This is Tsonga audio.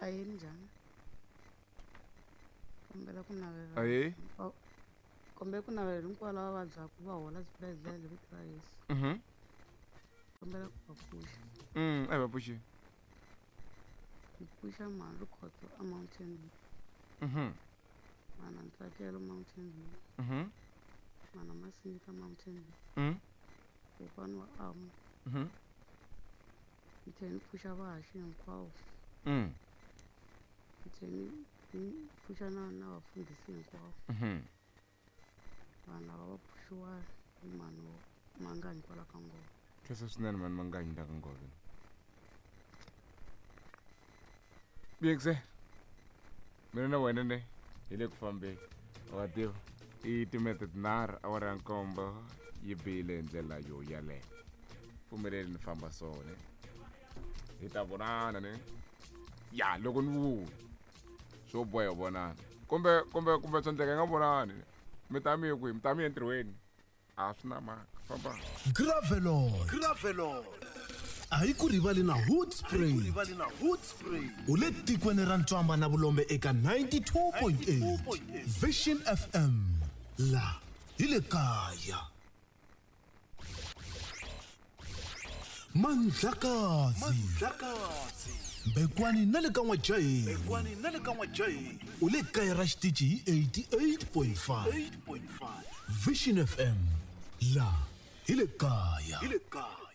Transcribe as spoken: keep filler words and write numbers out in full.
Ahee, minjhani? Kombela ku navela Ahee. Kombela ku navela hinkwavo lava vabyaka va hola swibedhlele hi vito ra Yesu. Mhm. Kombela ku va pfuxa. Mm, a hi va pfuxi. Ni pfuxa mhani Rikhotso a Mountain View. Mhm. Mana Ntsakelo Mountain View. Mhm. Mana Masingita Mountain View. Mm. Kokwani wa Amu. Mhm. Ni tlhela ni pfuxa vahaxi hinkwavo. Mm. Ni tlhela ni ni pfuxa na na vafundhisi hinkwavo. Mhm. Vanhu lava va pfuxiwa hi mhani Manganyi kwala ka Ngove. Khensa swinene mhani Manganyi la ka Ngove. Biyekise. Mina na wena ne hi le ku fambeni. Wa tiva i timinete tinharhu awara ya nkombo yi bile hi ndlela yo yaleyo. Pfumeleli ni famba so ne. Hi ta vonana ne. Ya loko ni vuya swo boha hi vonana. Kumbe kumbe kumbe swa endleka hi nga vonani. Mi ta mi ye kwihi? Mi ta mi ye entirhweni. A swi na mhaka. Famba. Gravelot. Gravelot. A hi ku rivali na Hoedspruit. Rivali na Hoedspruit. U le tikweni ra Ntswamba na Vulombe eka ninety-two point eight. Vision F M. La hi le kaya. Mandlakazi. Mandlakazi. Mbekwani na le ka N'wajaheni. Mbekwani na le ka N'wajaheni. U le kaya ra xitichi hi eighty-eight point five. eight point five. Vision F M. La hi le kaya. Hi le kaya.